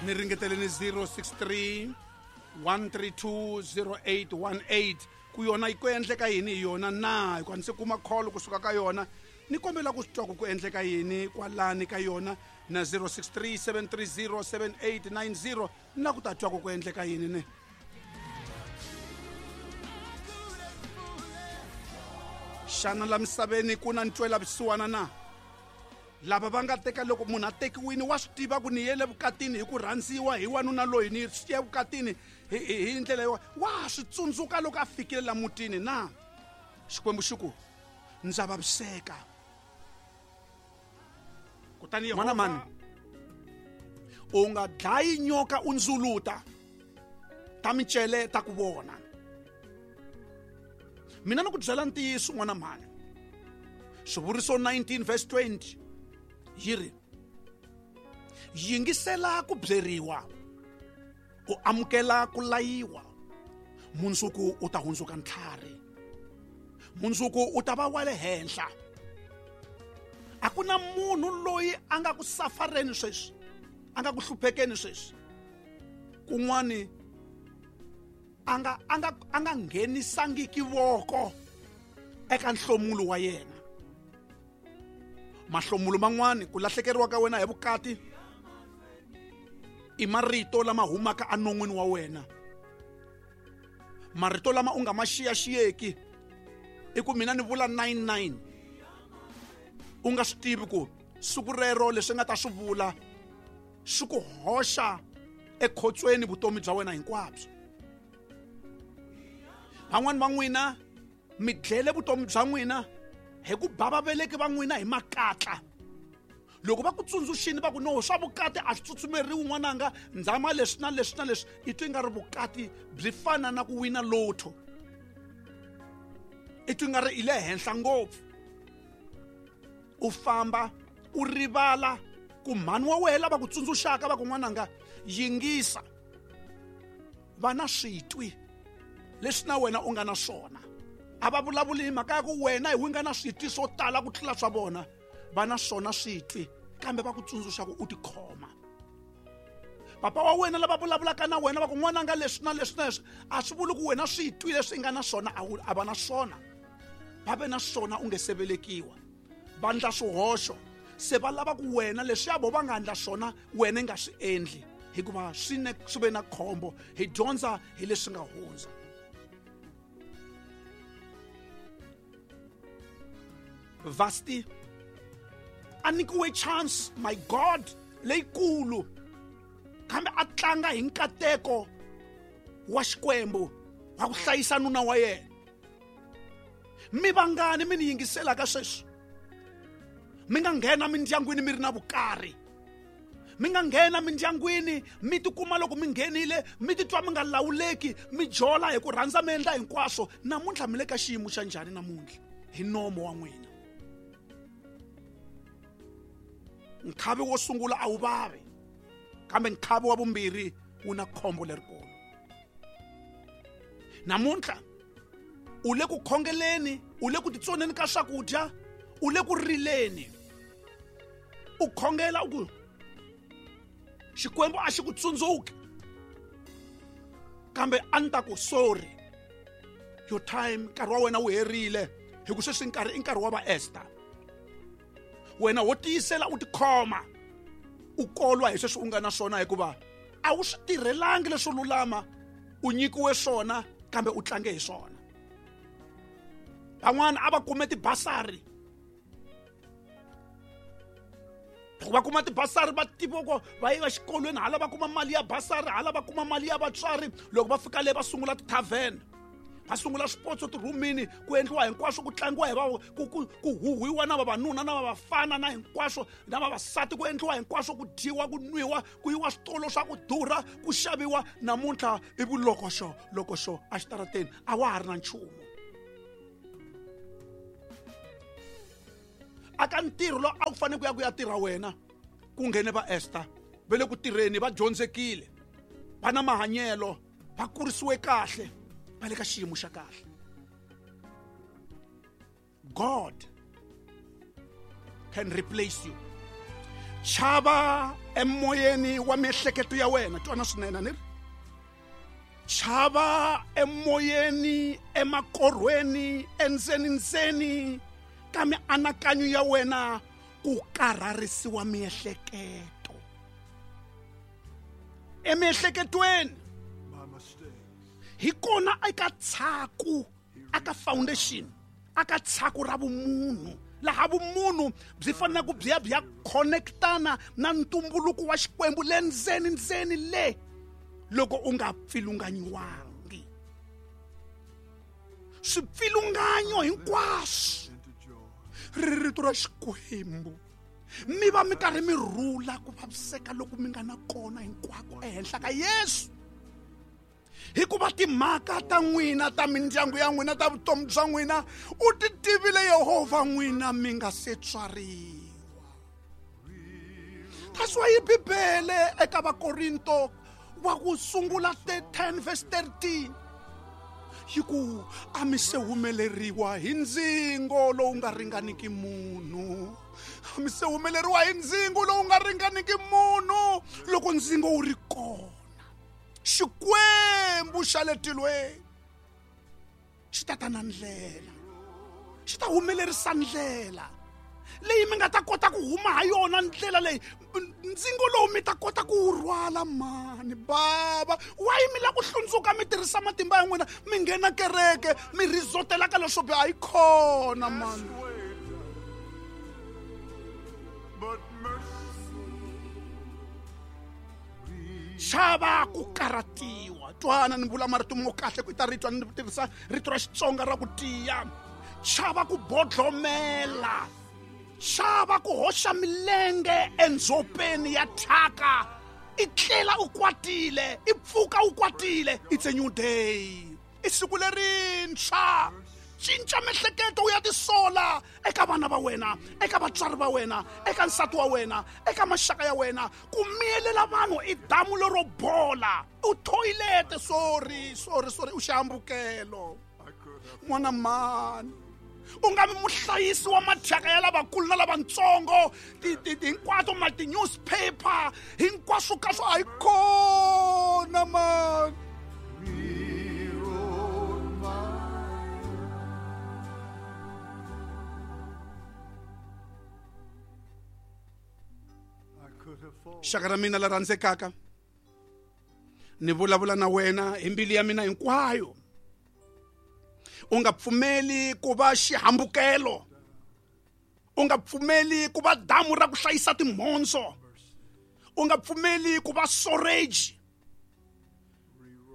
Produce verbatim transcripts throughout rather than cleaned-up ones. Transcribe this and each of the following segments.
Ni ringeteleni zero six three one three two zero eight one eight ku yona yi ku endleka yini hi yona na hikuva ni se kuma call kusuka ka yona ni kombela ku swi twa ku ku endleka yini kwalani ka yona na zero six three seven three zero seven eight nine zero na ku ta twa ku ku endleka yini ne. Xana la misaveni ku na ntwela vusiwana na lava va nga teka loko munhu a tekiwini wa swi tiva ku ni yele vukatini hi ku rhandziwa hi wanuna loyi ni ye vukatini hi hi ndlela yo wa swi tsundzuka loko a fikile la mutini na Xikwembu xi ku ndza vaviseka kutani N'wana mani u nga dlayi nyoka u ndzuluta ta micele ta ku vona. Mina ni ku byela ntiyiso n'wana mhani. Swivuriso nineteen verse twenty yi ri yingisela ku byeriwa u amukela ku layiwa mundzuku u ta hundzuka ntlhari mundzuku u ta va wa le henhla. A ku na munhu loyi a nga ku safareni sweswi a nga ku hluphekeni sweswi kun'wani a nga a nga a nga nghenisangiki voko eka nhlomulo wa yena. Mahlomulo man'wani ku lahlekeriwa ka wena hi vukati i marito lama humaka enon'wini wa wena, marito lama u nga ma xiyaxiyeki i ku mina ni vula nine nine u nga swi tivi ku siku rero leswi nga ta swi vula swi ku hoxa ekhotsweni vutomi bya wena hinkwabyo. Van'wani va n'wina mi dlele vutomi bya n'wina hi ku ba vaveleki va n'wina hi makatla. Loko va ku tsundzuxini va ku no swa vukati a swi tsutsumeriwi n'wananga ndzama leswi na leswi na leswi i twi nga ri vukati byi fana na ku wina lotto, i twi nga ri i le henhla ngopfu. U famba u rivala ku mhani wa wena lava ku tsundzuxaka va ku n'wananga yingisa va na switwi leswi na wena u nga na swona. A va vulavuli hi mhaka ya ku wena hi wi nga na switwi swo tala ku tlula swa vona, va na swona switwi kambe va ku tsundzuxa ku u tikhoma. Papa wa wena lava vulavulaka na wena va ku n'wananga leswi na leswi na leswi a swi vuli ku wena switwi leswi i nga na swona a va na swona, va ve na swona u nge se velekiwa. Va ndla swihoxo se va lava ku wena leswiya vo va nga ndla swona wena i nga swi endli hikuva swi ne swi ve na khombo. Hi dyondza hi leswi nga hundza. Vasti a nyikiwe chance my God leyikulu kambe a tlanga hi nkateko wa Xikwembu wa ku hlayisa nuna wa yena. Mi vangani mi ni yingiselaka sweswi mi nga nghena mindyangwini mi ri na vukarhi, mi nga nghena mindyangwini mi tikuma loko mi nghenile mi titwa mi nga lawuleki mi jola hi ku rhandza mi endla hinkwaswo. Namuntlha mi le ka xiyimo xa njhani namuntlha hi nomo wa n'wina? Nkhavi wo sungula a wu vavi kambe nkhavi wa vumbirhi wu na khombo lerikulu. Namuntlha u le ku khongeleni, u le ku titsoneni ka swakudya, u le ku rileni, u khongela u ku Xikwembu a xi ku tsundzuki kambe a ni ta ku sorry your time nkarhi wa wena wu herile hi ku sweswi nkarhi i nkarhi wa va Esther. Wena wo tiyisela u tikhoma u kolwa hi sweswi u nga na swona hikuva a wu swi tirhelangi leswo lulama, u nyikiwe swona kambe u tlange hi swona. Van'wana a va kume tibasari, loko va kuma tibasari va tiva ku va ya exikolweni hala va kuma mali ya basari hala va kuma mali ya vatswari. Loko va fika le va sungula ti-tavern, va sungula swipotso tirhumini, ku endliwa hinkwaswo, ku tlangiwa hi va ku ku ku huhwiwa na vavanuna na vavafana na hinkwaswo na vavasati, ku endliwa hinkwaswo, ku dyiwa, ku nwiwa, ku yiwa switolo swa ku durha, ku xaviwa. Namuntlha i vulokoxo lokoxo exitarateni a wa ha ri na nchumu. Aka ntirho lowu a wu fanele ku ya ku ya tirha wena ku nghene va Esther va le ku tirheni, va dyondzekile, va na mahanyelo, va kurisiwe kahle, va le ka xiyimo xa kahle. God can replace you. Chava emoyeni wa miehleketo ya wena, twana swinene ni ri. Chava emoyeni, emakorhweni, endzeni ndzeni ka mianakanyo ya wena ku karharisiwa miehleketo. Emiehleketweni hi kona eka tshaku, aka foundation, aka tshaku ra vumunhu, laha vumunhu byi faneleke byi ya byi ya connectana na ntumbuluko wa Xikwembu le ndzeni ndzeni le loko u nga pfilunganyiwangi. Swipfilunganyo hinkwaswo ri rito ra Xikwembu mi va mi karhi mi rhula ku vaviseka loko mi nga na kona hinkwako ehenhla ka Yesu. Hikuva timhaka ta n'wina, ta mindyangu ya n'wina, ta vutomi bya n'wina, u ti tivile Yehovha n'wina mi nga se tswariwa. That's why Bibele eka Vakorinto wa ku sungula ten verse thirteen yi ku a mi se humeleriwa hi ndzingo lowu nga ringaniki munhu. A mi se humeleriwa hi ndzingo lowu nga ringaniki munhu. Loko ndzingo wu ri kona, Xikwembu xa le tilweni xi ta ta na ndlela, xi ta humelerisa ndlela leyi mi nga ta kota ku huma ha yona, ndlela leyi ndzingo lowu mi ta kota ku wu rhwala. Mani bava, why mi lava ku hlundzuka mi tirhisa matimba ya n'wina, mi nghena kereke mi rizotela ka leswo biha? Yi kona mani. Chava ku karhatiwa. Twana ni vula marito mo kahle ku ta ritwa ni tirhisa rito ra Xitsonga ra ku tiya. Chava ku bodlomela, chava ku hoxa milenge endzhopeni ya thyaka, i tlela u kwatile, i pfuka u kwatile. It's a new day, i siku lerintshwa. Cinca miehleketo u ya tisola eka vana va wena, eka vatswari va wena, eka nsati wa wena, eka maxaka ya wena. Ku miyelela vanhu i damu lero bola, u thoyilete. Sorry, sorry, sorry, u xihambukelo n'wana mani. U nga vi muhlayisi wa mathyaka ya lavakulu na lavatsongo, hinkwato ma ti-newspaper hinkwaswo ka swo a yi kona mani. Xaka ra mina la rhandzekaka, ni vulavula na wena hi mbilu ya mina hinkwayo. U nga pfumeli ku va xihambukelo, u nga pfumeli ku va damu ra ku hlayisa timhondzo, u nga pfumeli ku va storage,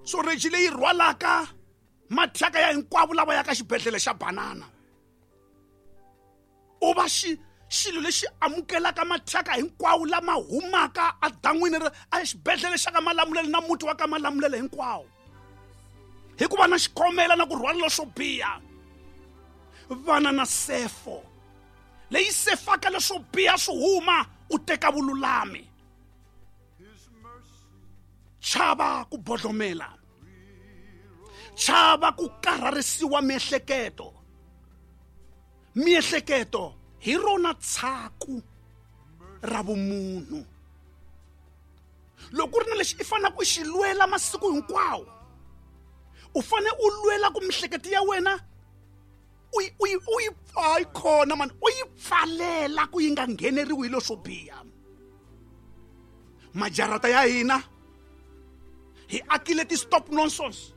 storage leyi rhwalaka mathyaka ya hinkwavo lava yaka xibedhlele xa banana. U va xi xilo lexi amukelaka mathyaka hinkwawo lama humaka edan'wini a xibedhlele xa ka Malamulele na muti wa ka Malamulele hinkwawo, hikuva na xikhomela na ku rhwala leswo biha. Vana na sefo leyi sefaka leswo biha swi huma, u teka vululami. Chava ku bodlomela, chava ku karharisiwa miehleketo. Miehleketo hi rona tshaku ra vumunhu. Loko ku ri na lexi i faneleke u xi lwela masiku hinkwawo, u fanele u lwela ku miehleketo ya wena u yi u yi u yi hayi khona mani, u yi pfalela ku yi nga ngheneriwi hi leswo biha. Majarata ya hina hi akile ti-stop nonsense,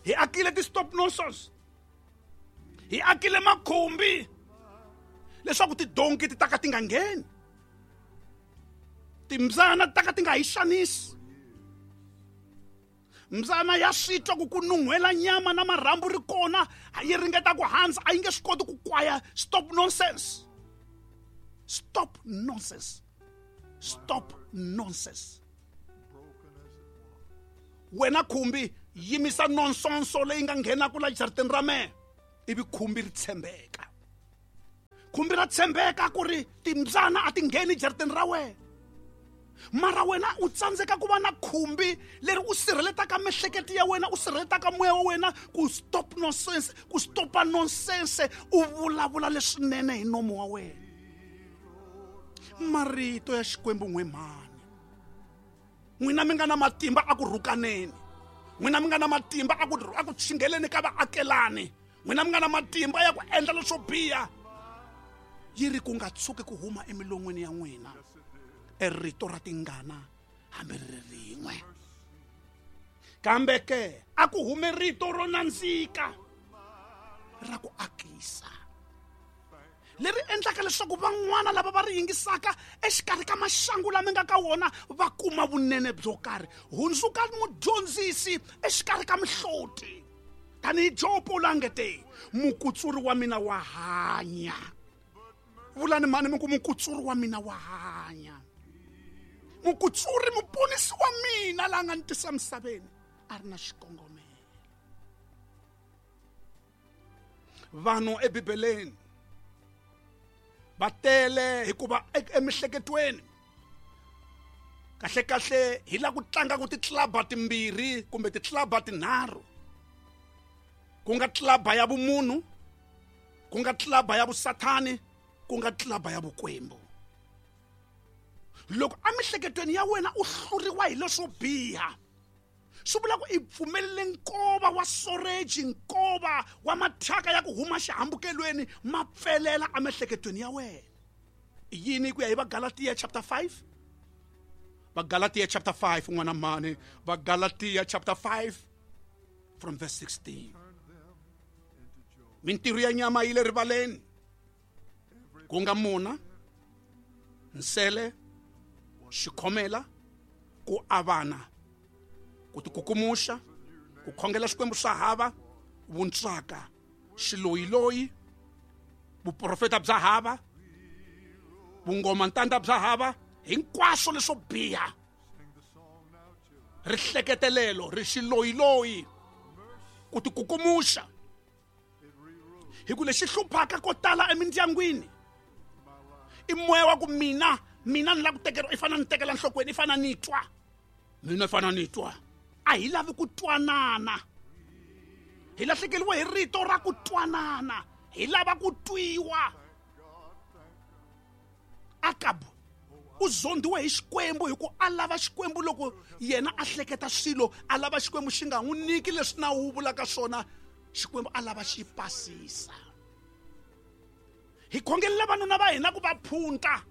hi akile ti-stop nonsense, hi akile makhumbi leswaku tidonki ti ta ka ti nga ngheni, timbyana ti ta ka ti nga hi xanisi. Mbyana ya swi twa ku ku nun'hwela nyama na marhambu ri kona, yi ringeta ku handza, a yi nge swi koti ku kwaya. Stop nonsense, stop nonsense, stop nonsense. Wena khumbi, yimisa nonsense leyi nga nghenaka la jarateni ra mehe, ivi khumbi ri tshembeka. Khumbi ra tshembeka ku ri timbyana a ti ngheni jarateni ra wena, mara wena u tsandzeka ku va na khumbi leri u sirheletaka miehleketo ya wena, u sirheletaka moya wa wena ku stop nonsense, ku stopa nonsense, u vulavula leswinene hi nomo wa wena. Marito ya Xikwembu n'we mhani, n'wina mi nga na matimba a ku rhukaneni, n'wina mi nga na matimba a ku a ku chingeleni ka vaakelani, n'wina mi nga na matimba ya ku endla leswo biha, yi ri ku nga tshuki ku huma emilon'wini ya n'wina e rito ra tingana hambi ri ri rin'we. Kambe ke a ku hume rito ro nandzika ra ku akisa, leri endlaka leswaku van'wana lava va ri yingisaka exikarhi ka maxangu lama nga ka wona va kuma vunene byo karhi. Hundzuka mudyondzisi exikarhi ka mihloti, tanihi Jobo la nge te, mukutsuri wa mina wa hanya. Vulani mhani mi ku mukutsuri wa mina wa hanya, mukutsuri muponisi wa mina la nga ni tisa misaveni a ri na xikongomelo. Vanhu eBibeleni va tele hikuva emihleketweni kahle kahle hi la ku tlanga ku titlaba timbirhi kumbe titlaba tinharhu, ku nga tlaba ya vumunhu, ku nga tlaba ya vusathani, ku nga tlaba ya vukwembu. Loko emihleketweni ya wena u hluriwa hi leswo biha, swi vula ku i pfumelele nkova wa soreji, nkova wa mathyaka ya ku huma xihambukelweni ma pfelela emihleketweni ya wena. I yini ku ya hi Vagalatiya chapter five? Vagalatiya chapter five, n'wana mhani, Vagalatiya chapter five from verse sixteen. Mintirho ya nyama yi le rivaleni, ku nga mona, nsele, xikhomela, ku avana, ku tikukumuxa, ku khongela xikwembu swa hava, vuntswaka, xiloyiloyi, vuprofeta bya hava, vungoma ntanda bya hava, hinkwaswo leswo biha, rihleketelelo, ri xiloyiloyi, ku tikukumuxa. Hi ku lexi hluphaka ko tala emindyangwini i moya wa ku mina mina ni lava ku tekeriwa, i fanele ni tekela nhlokweni, i fanele ni twa mina, i fanele ni twa. A hi lavi ku twanana, hi lahlekeriwe hi rito ra ku twanana, hi lava ku twiwa. Akabu u zondiwe hi Xikwembu hi ku a lava Xikwembu loko yena a hleketa swilo, a lava Xikwembu xi nga n'wi nyiki leswi nawu wu vulaka swona, Xikwembu a lava xi pasisa. Hi khongelela vanuna va hina ku va phunta,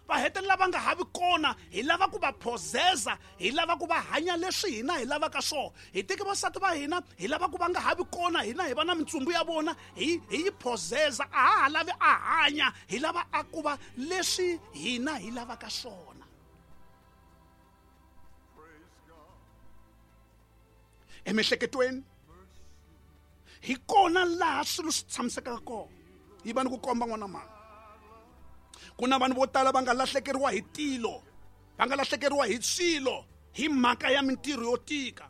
va hetelela va nga ha vi kona, hi lava ku va phozeza, hi lava ku va hanya leswi hina hi lavaka swona. Hi teke vasati va hina, hi lava ku va nga ha vi kona, hina hi va na mintsumbu ya vona, hi hi yi phozeza, a ha ha lavi a hanya, hi lava a ku va leswi hina hi lavaka swona. Emihleketweni hi kona laha swilo swi tshamisekaka kona. Yi va ni ku komba n'wana mhani, ku na vanhu vo tala va nga lahlekeriwa hi tilo, va nga lahlekeriwa hi swilo hi mhaka ya mintirho yo tika.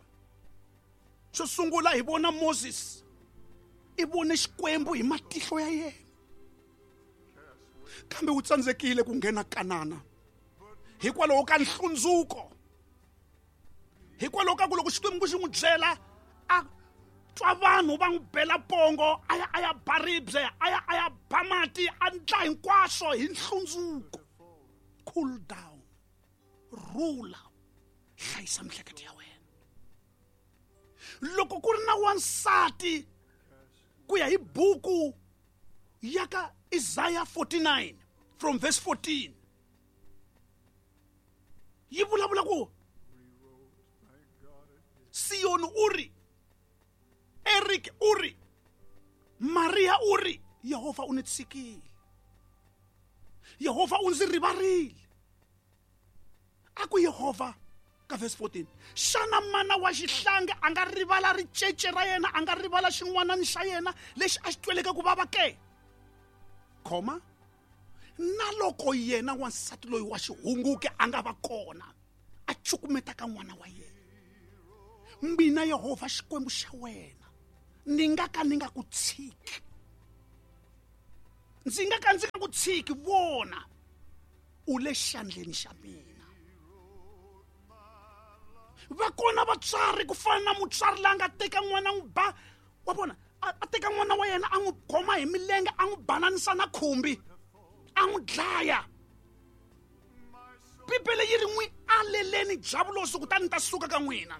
Xo sungula hi vona Moses, i vone Xikwembu hi matihlo ya yena, kambe wu tsandzekile ku nghena Kanana hikwalaho ka nhlundzuko, hikwalaho ka ku loko Xikwembu xi n'wi byela a twa vanhu va n'wi bela pongo, a ya a ya ba ribye, a ya a ya ba mati, a ndla hinkwaswo hi nhlundzuko. Cool down, rhula, hlayisa mihleketo ya wena. Loko ku ri na wansati, ku ya hi buku ya ka Isaiah forty-nine from verse fourteen, yi vulavula ku Siyoni u ri, Eric u ri, Maria u ri, Yehovha u ni tshikile, Yehovha u ndzi rivarile. A ku Yehovha ka verse fourteen, xana mana wa xihlangi a nga rivala ricece ra yena, a nga rivala xin'wanani xa yena lexi a xi tweleke ku vava ke? Khoma na loko yena wansati loyi wa xihunguki a nga va kona a cukumeta ka n'wana wa yena, mina Yehovha Xikwembu xa wena ni nga ka ni nga ku tshiki, ndzi nga ka ndzi nga ku tshiki, vona u le xandleni xa mina. Va kona vatswari ku fana na mutswari la nga teka n'wana n'wi ba, wa vona, a teka n'wana wa yena a n'wi khoma hi milenge, a n'wi bananisa na khumbi, a n'wi dlaya. yi ri n'wi aleleni javulosi kutani ta suka ka n'wina.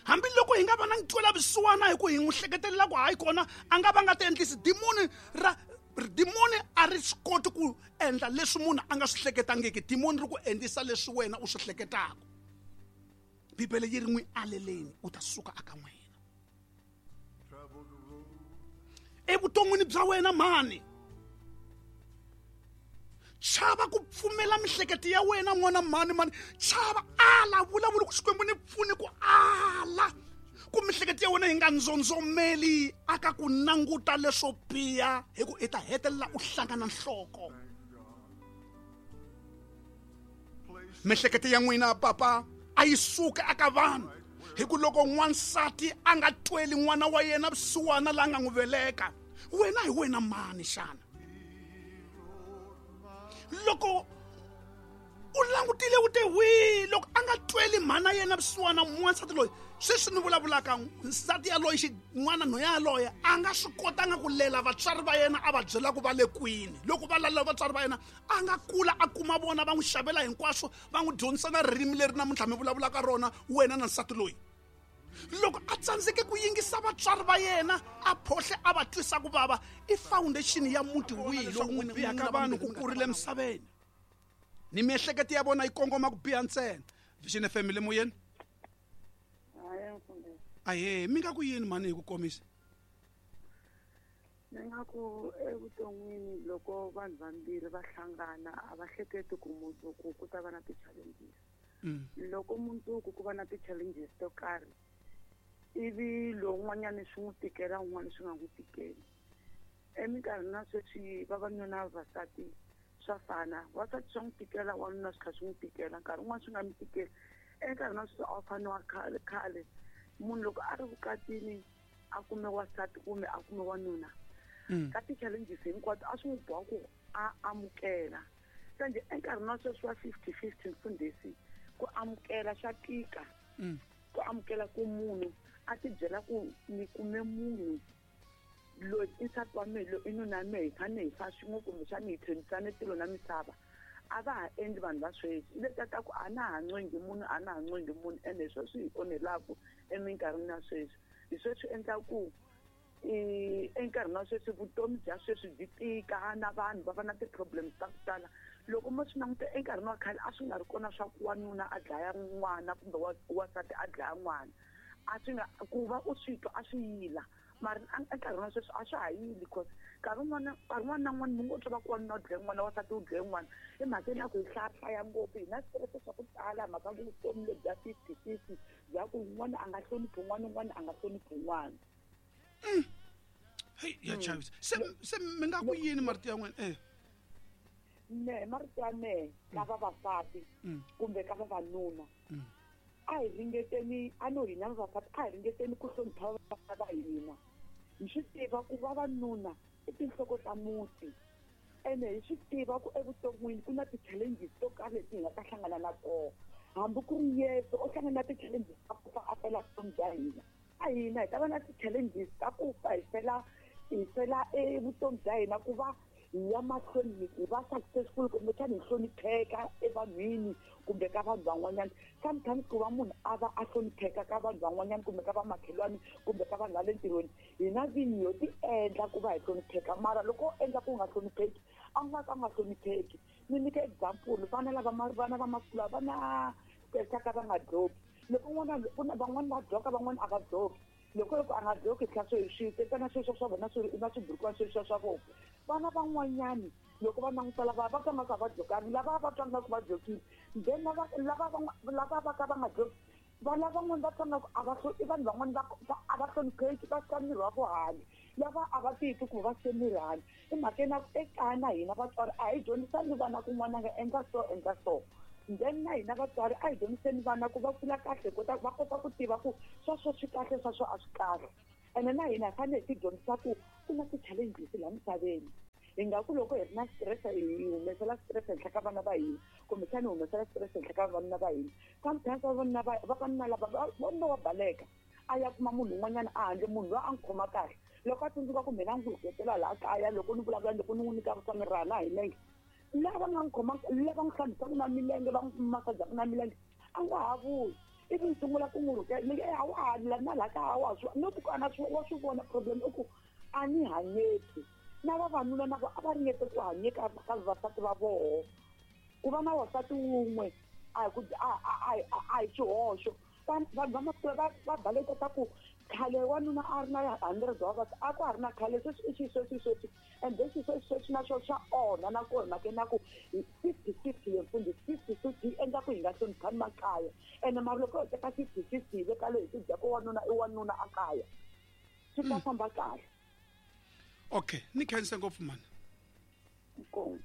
Hambiloko hi nga va na ntwela vusiwana hi ku hi n'wi hleketelela ku hayi kona a nga va nga ti endlisi dimoni ra dimoni a ri swi koti ku endla leswi munhu a nga swi hleketangiki. Dimoni ri ku endlisa leswi wena u swi hleketaka. Bibele yi ri n'wi aleleni u ta suka aka n'wina. Evuton'wini bya wena mhani, chava ku pfumela mihleketo ya wena n'wana mhani mhani, chava ala vulavula ku Xikwembu ni pfuni ku ala ku mihleketo ya wena yi nga ndzondzomeli aka ku languta leswo biha hi ku i ta hetelela u hlangana nhloko. Mihleketo ya n'wina papa a yi suka aka vanhu hi ku loko n'wansati a nga tweli n'wana wa yena vusiwana la nga n'wi veleka, wena hi wena mani xana? Loko u langutile u te wi loko a nga tweli mhana yena vusiwana n'wansati loyi sweswi ni vulavulaka nsati yaloye xin'wana nho yaloye a nga swi kotanga ku lela vatswari va yena a va byela ku va le kwini. Loko va lalela vatswari va yena a nga kula a kuma vona va n'wi xavela hinkwaswo va n'wi dyondzisa na ririmi leri namuntlha mi vulavulaka rona wena na nsati loyi. Loko a tsandzeke ku yingisa vatswari va yena a phohle a va twisa ku vava i foundation ya muti wihi lowu n'wi biha ka vanhu ku kurile emisaveni ni miehleketo ya vona yi kongoma ku biha ntsena. Vision F M le moyeni. Ahe mi nga ku yini mhani hi ku komisa? Ni nga ku evuton'wini loko vanhu vambirhi va hlangana a va hleketi ku mundzuku ku ta va na ti-challenges. Loko mundzuku ku va na ti-challenges to karhi ivi lowun'wanyana swi n'wi tikela un'wana swi nga n'wi tikeli. Eminkarhini ya sweswi vavanuna na vavasati swa fana, wansati swa n'wi tikela wanuna swi tlhela swi n'wi tikela, nkarhi wun'wani swi nga n'wi tikeli. Enkarhini wa sweswi a wu fani wa khale khale munhu loko a ri vukatini a kume wansati kumbe a kume wanuna ka ti-challenges hinkwato a swi n'wi boha ku a amukela. Kambe enkarhini wa sweswi wa fifty fifty mfundhisi ku amukela swa tika. Ku amukela ku munhu a ti byela ku ni kume munhu loyi i nsati wa mehe loyi i nuna wa mehe hi fanele hi fa swin'we kumbexana hi tlhelisane tilo na misava. A va ha endli vanhu va sweswi letiya ta ku a na ha ncengi munhu a na ha ncengi munhu ene hi sweswi hi onhelaku eminkarhini ya sweswi. Hi sweswi endla ku enkarhini wa sweswi vutomi bya sweswi byi tika na vanhu va va na ti-problems ta ku tala. Loko mo swi languta enkarhini wa khale a swi nga ri kona swa ku wanuna a dlaya n'wana kumbe wansati a dlaya n'wana, a swi nga ku va u swi twa a swi yila. Mara enkarhini wa sweswi a swa ha yili because nkarhi wun'wana nkarhi wun'wana na wun'wana mi ngo twa va ku wanuna u dlaye n'wana wansati u dlaye n'wana. I mhaka ya ku hi hlayahlaya ngopfu hi na stress swa ku tala mhaka vutomi lebyi bya fifty fifty bya ku un'wana a nga hloniphi un'wana un'wana a nga hloniphi un'wana. Hey ya chavisa. Se se mi nga ku yini marito ya n'wina? Eh me marito ya mehe ka vavasati kumbe ka vavanuna a hi ringeteni a no hina vavasati a hi ringeteni ku hlonipha vavasati va hina. Hi swi tiva ku vavanuna i tinhloko ta muti ene hi swi tiva ku evuton'wini ku na ti-challenges to karhi leti hi nga ta hlangana na tona. Hambi ku ri Yesu o hlangana na ti-challenges ta ku fa a fela vutomi bya hina. A hina hi ta va na ti-challenges ta ku fa hi fela hi fela evutomi bya hina ku va hi ya mahlweni hi va successful kumbexana hi hlonipheka evanhwini kumbe ka vanhu van'wanyana. Sometimes ku va munhu a va a hlonipheka ka vanhu van'wanyana kumbe ka vamakhelwani kumbe ka vanhu va le ntirhweni hina vinyi ho ti endla ku va hi hlonipheka, mara loko u endla ku nga hlonipheki a nga ka nga hlonipheki. Ni nyika example, vana lava vana va masiku lawa va na stress ka va nga dloki. Loko n'wana van'wana va dloka van'wana a va dloki. Loko loko a nga dloki tlhela swi swi tekana sweswo swa vona swi na swiburukwana sweswo swa vona. Vana van'wanyani loko va languta lava va twa nga ku a va dlokangi, lava va twa nga ku va dlokile, then lava lava lava va ka va nga dloki va lavan'wana va twa nga ku a va i vanhu van'wana va a va hlonipheki va sika miri wa vo handle, lava a va titwi ku va sike miri handle. I mhaka na ku ekaya na hina vatswari a hi dyondzisani vana ku n'wana nga endla so endla so. Then na hina vatswari a hi dyondziseni vana ku va kula kahle kota va kota ku tiva ku sweswo swi kahle sweswo a swi kahle. Ene na hina hi fanele hi ti dyondzisa ku ku na ti-challenges laha misaveni. Hi nga ku loko hi ri na stress hi humesela stress henhla ka vana va hina kumbexana hi humesela stress henhla ka vavanuna va hina. Sometimes vavanuna va vavanuna lava vanuna wa baleka a ya kuma munhu un'wanyana a handle munhu loyi a n'wi khoma kahle. Loko a tsundzuka ku mina n'wi hupetela laha kaya loko ni vulavula loko ni n'wi nyika swa mirhi na hi nenge Lava nga n'wi khomaka lava n'wi hlambisaka na milenge va n'wi masajaka na milenge a nga ha vuyi ivi ni sungula ku n'wi rhukela ni a wa ha na laha ka a wa swi not ku a na swi wa swi vona problem i ku a ni hanyeki na vavanuna na vo a va ringete ku hanyeka ka vavasati va voho ku va na wansati wun'we a hi ku a a a hi xihoxo vanhu va masiku va va baleketa ku khale wanuna a ri na hundred wa vavasati a ku ha ri na khale sweswi i xisweswi sweswi and then xisweswi sweswi na swona swa onha na kona mhaka na ku fifty fifty ye mfundhisi fifty fifty yi endla ku hi nga hloniphani makaya ene mara loko ho teka fifty fifty hi veka leyi hi swi dyaka wanuna i wanuna a kaya swi ta famba kahle. Okay, ni khense ngopfu mani. Inkomu.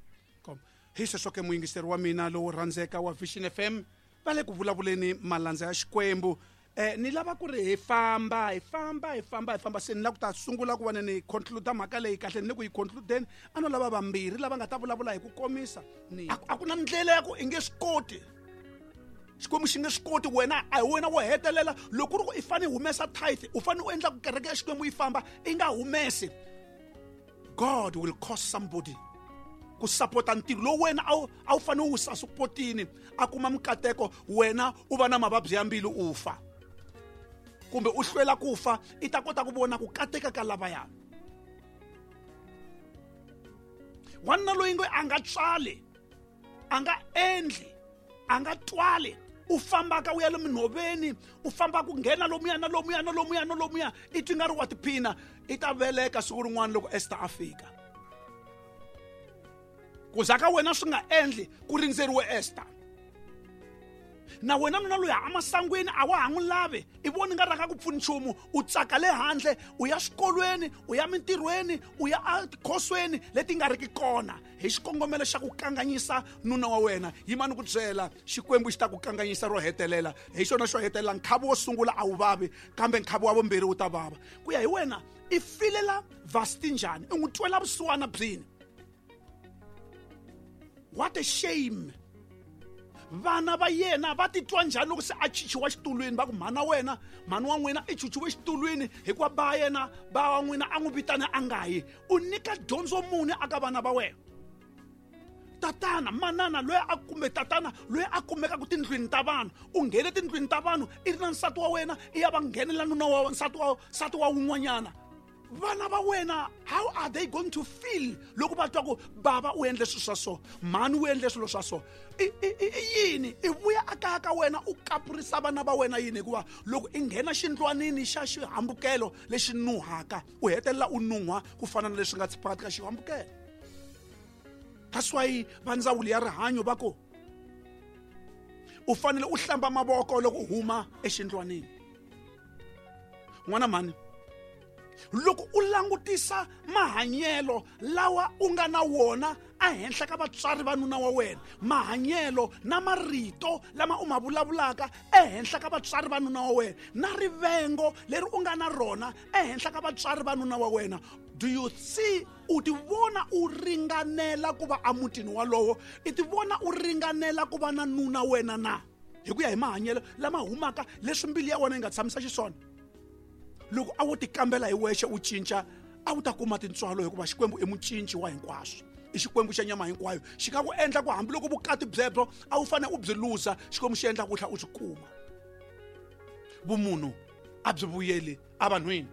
Kom. Hi sweswo ke muyingiseri wa mina lowo rhandzeka wa Vision F M va le ku vulavuleni malandza ya Xikwembu. Eh ni lava ku ri hi famba hi famba hi famba hi famba se ni lava ku ta sungula ku va ni conclude mhaka leyi kahle ni le ku yi concludeni a no lava vambirhi lava nga ta vulavula hi ku komisa ni a ku na ndlela ya ku i nge swi koti Xikwembu xi nge swi koti wena a hi wena wo hetelela loko ku ri ku i fanele humesa tithe u fanele u endla ku kereke ya Xikwembu yi famba i nga humesi. God will cause somebody ku sapota ntirho lowu wena a wu a wu fanele u wu sapotini a kuma mikateko wena u va na mavabyi ya mbilu u fa kumbe u hlwela ku fa i ta kota ku vona ku kateka ka lavaya. Wanuna loyi ngo a nga tswali a nga endli a nga twali u fambaka u ya le minhoveni u famba ku nghena lomuya na lomuya na lomuya na lomuya i twi nga ri wa tiphina i ta veleka siku rin'wana loko Esther a fika. Ku za ka wena swi nga endli ku rindzeriwe Esther. Na wena nuna loyi a masangwini a wa ha n'wi lavi i voni nga ranga ku pfuni nchumu u tsaka le handle u ya swikolweni u ya mintirhweni u ya etikhosweni leti nga riki kona hi xikongomelo xa ku kanganyisa nuna wa wena. Yimani ku byela Xikwembu xi ta ku kanganyisa ro hetelela hi xona xo hetelela nkhavi wo sungula a wu vavi kambe nkhavi wa vumbirhi wu ta vava. Ku ya hi wena i filela Vasti njhani i n'wi twela vusiwana byini? What a shame. Vana va yena va titwa njhani loko se a chichiwa xitulwini va ku mhana wena mhani wa n'wina i chichiwe xitulwini hikuva ba yena ba wa n'wina a n'wi vitana a nga yi. U nyika dyondzo muni aka vana va wena? Tatana manana loyi a kumbe tatana loyi a kumekaka tindlwini ta vanhu u nghene tindlwini ta vanhu i ri na nsati wa wena i ya va nghenela nuna wa nsati wa nsati wa wun'wanyana. Vana va wena how are they going to feel loko va twa ku bava u endle swilo swa so mhani u endle swilo swa so i i yini i vuya a kaya ka wena u kapurisa vana va wena yini hikuva loko i nghena xindlwanini xa xihambukelo lexi nuhaka u hetelela u nuhwa ku fana na leswi nga phakathi ka xihambukelo. That's why va ndzawulo ya rihanyo va ku u fanele u hlamba mavoko loko u huma exindlwanini. N'wana mhani loko u langutisa mahanyelo lawa u nga na wona ehenhla ka vatswari va nuna wa wena mahanyelo na marito lama u ma vulavulaka ehenhla ka vatswari va nuna wa wena na rivengo leri u nga na rona ehenhla ka vatswari va nuna wa wena, do you see u ti vona u ringanela ku va emutini walowo i ti vona u ringanela ku va na nuna wena na hi ku ya hi mahanyelo lama humaka leswi mbilu ya wena yi nga tshamisa xiswona? Loko a wo tikambela hi wexe u cinca a wu ta kuma tintswalo hikuva Xikwembu i mucinci wa hinkwaswo i Xikwembu xa nyama hinkwayo xi nga ku endla ku hambiloko vukati byebyo a wu fanele u byi luza Xikwembu xi endla ku tlhela u byi kuma. Vumunhu a byi vuyeli evanhwini.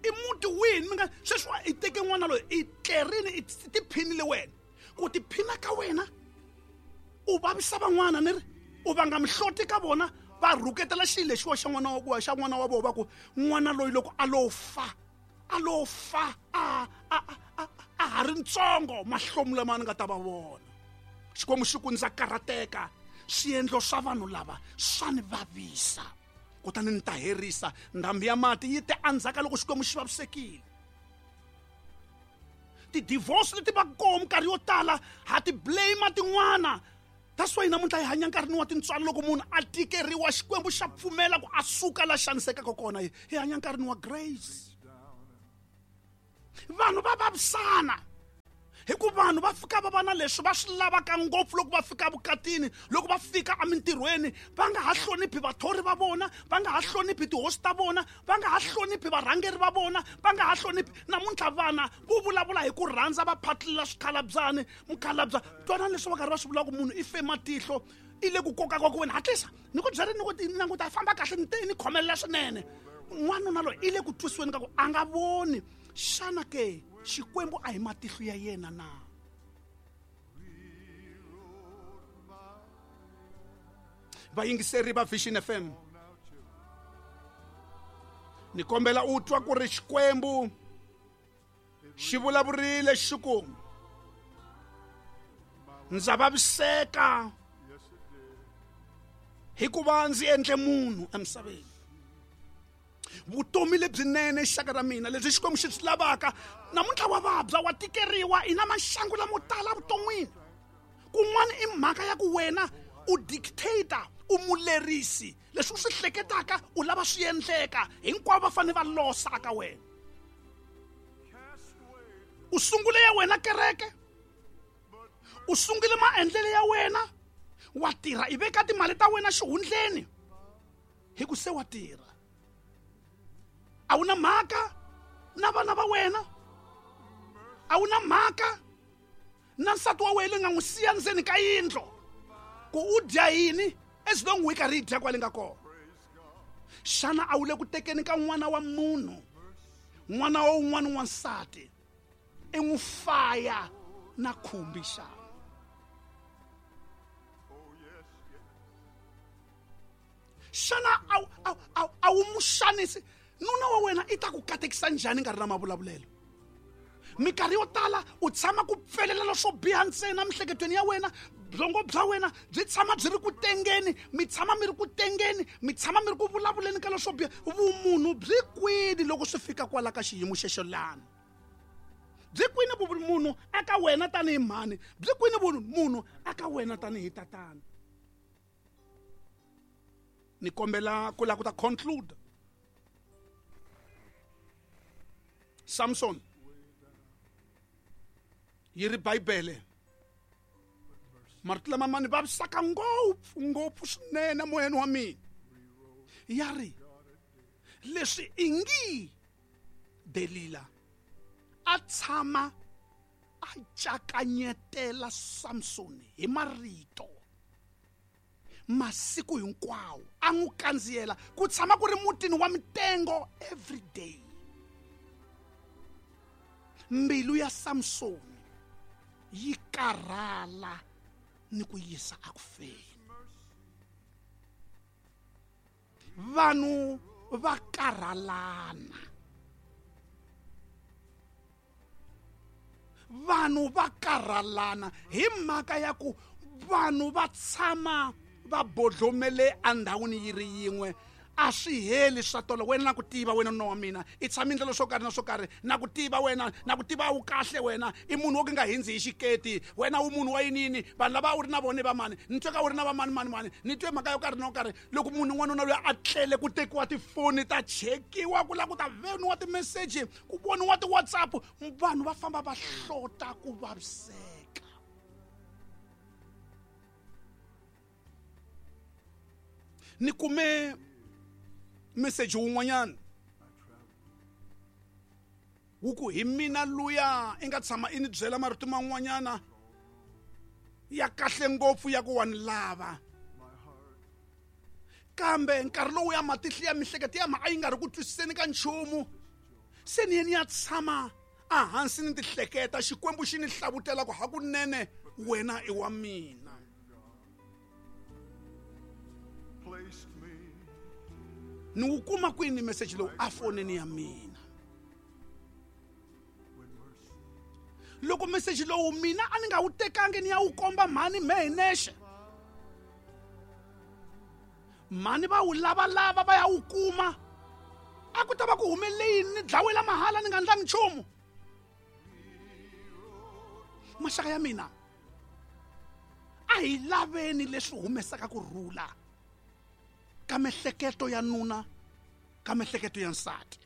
I muti wihi mi nga sweswi i teke n'wana loyi i tlerini i tiphinile wena ku tiphina ka wena u vavisa van'wana ni ri u vanga mihloti ka vona va rhuketela xilo lexiwa xa n'wana wa xa n'wana wa vona va ku n'wana loyi loko a lo fa a lo fa a a a a ha ri ntsongo mahlomu lama ni nga ta va vona. Xikwembu xi ku ndza karhateka swiendlo swa vanhu lava swa ni vavisa kutani ni ta herisa ndhambi ya mati yi te endzhaku loko Xikwembu xi vavisekile. Ti-divorce leti va kona minkarhi yo tala ha ti blame tin'wana. That's why namuntlha hi hanya nkarhini wa tintswalo loko munhu a tikeriwa Xikwembu xa pfumela ku a suka la xanisekaka kona hi hanya nkarhini wa grace. Vanhu va vavisana Hi ku vanhu va fika va va na leswi va swi lavaka ngopfu loko va fika vukatini, loko va fika emintirhweni, va nga ha hloniphi vathori va vona, va nga ha hloniphi tihosi ta vona, va nga ha hloniphi varhangeri va vona, va nga ha hloniphi. Namuntlha vana vo vulavula hi ku rhandza va phatlela swikhalabzani, mukhalabya. Twana leswi va karhi va swi vulaka ku munhu i fe matihlo, i le ku koka ka ku wena hatlisa ni ku byela ni ku languta famba kahle ni te ni khomelela swinene. N'wanuna loyi i le ku twisiweni ka ku a nga voni. Xana ke Xikwembu a hi matihlo ya yena na? Vayingiseri va Vision F M, ni kombela u twa ku ri Xikwembu xi vulavurile xi ku ndza vaviseka hikuva ndzi endle munhu emisaveni. Vutomi lebyinene xaka ra mina lebyi Xikwembu xi byi lavaka namuntlha wa vabya, wa tikeriwa, i na maxangu lamo tala vuton'wini. Kun'wana i mhaka ya ku wena u dictator, u mulerisi, leswi u swi hleketaka u lava swi endleka, hinkwavo va fanele va losa aka wena. U sungule ya wena kereke, u sungule maendlelo ya wena, wa tirha, i veka timali ta wena xihundleni hi ku se wa tirha. A wu na mhaka na vana va wena, a wu na mhaka na nsati wa wena nga n'wi siya ndzeni ka yindlu ku u dya yini as long u yi karhi yi dya kwale nga kona. Xana a wu le ku tekeni ka n'wana wa munhu, n'wana wa un'wana wansati, i n'wi faya na khumbi xana? Xana a a a wu mu xanisi? Nuna wa wena i ta ku katekisa njhani nkarhi na mavulavulelo? Minkarhi yo tala u tshama ku pfelela swo biha ntsena miehleketweni ya wena, byongo bya wena byi tshama byi ri ku tengeni, mi tshama mi ri ku tengeni, mi tshama mi ri ku vulavuleni ka leswo biha. Vumunhu byi kwini loko swi fika kwala ka xiyimo xexo lani? Byi kwini vumunhu aka wena tanihi mhani? Byi kwini vumunhu aka wena tanihi tatana? Ni kombela ku lava ku ta conclude. Samson yi ri Bibele marito lama ma ni vavisaka ngopfu ngopfu swinene moyeni wa mina. Ya ri leswi ingi Delila a tshama a cakanyetela Samson hi marito masiku hinkwawo, a n'wi kandziyela ku tshama ku ri mutini wa mitengo every day. Mbilu ya Samson yi karhala ni ku yisa akufeni. Vanhu va karhalana, vanhu va karhalana hi mhaka ya ku vanhu va tshama va bodlomele endhawini yi ri yin'we. A swi heli swa tolo. Wena na ku tiva wena nuna wa mina i tshama ndlela swo karhi na swo karhi, na ku tiva wena, na ku tiva wu kahle wena, i munhu wo ka nga hindzi hi xiketi wena, u munhu wa yinini, vanhu lava u ri na vona va mani, ni twe ka u ri na va mani mani mani, ni twe mhaka yo karhi na yo karhi. Loko munhu n'wanuna loyi a tlele ku tekiwa tifoni ta chekiwa, ku lava ku ta voniwa timeseji, ku voniwa ti-WhatsApp, vanhu va famba va hlota ku vaviseka. Ni kume message wun'wanyana wu ku hi mina luya i nga tshama i ni byela marito man'wanyana ya kahle ngopfu ya ku wa ni lava, kambe nkarhi lowu ya matihlo ya mihleketo ya ma a yi nga ri ku twisiseni ka nchumu, se ni ye ni ya tshama ehansi ni tihleketa, Xikwembu xi ni hlavutela ku hakunene wena i wa mina. Ni wu kuma kwini message lowu a fonini ya mina? Loko message lowu mina a ni nga wu tekangi ni ya wu komba mhani mehe nexe, mhani va wu lavalava va ya wu kuma, a ku ta va ku humelele yini? Ni dlawela mahala ni nga ndlangi nchumu. Maxaka ya mina, a hi laveni leswi humesaka ku rhula ka mehleketo ya nuna, ka mehleketo ya nsati.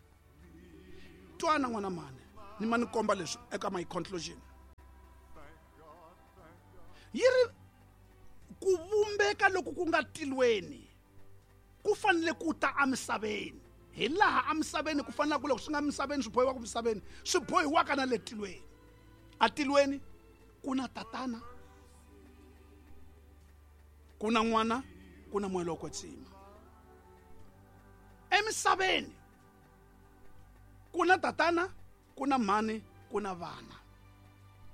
Twana n'wana mhani, ni ma ni komba leswi eka my conclusion. Yi ri ku vumbeka loko ku nga tilweni ku fanele ku ta emisaveni. Hi laha emisaveni ku fanele ku loko swi nga misaveni swi bohiwaka misaveni swi bohiwaka na le tilweni. Atilweni ku na tatana, ku na n'wana, ku na moya lowo kwetsima. Emisaveni ku na tatana, ku na mhani, ku na vana.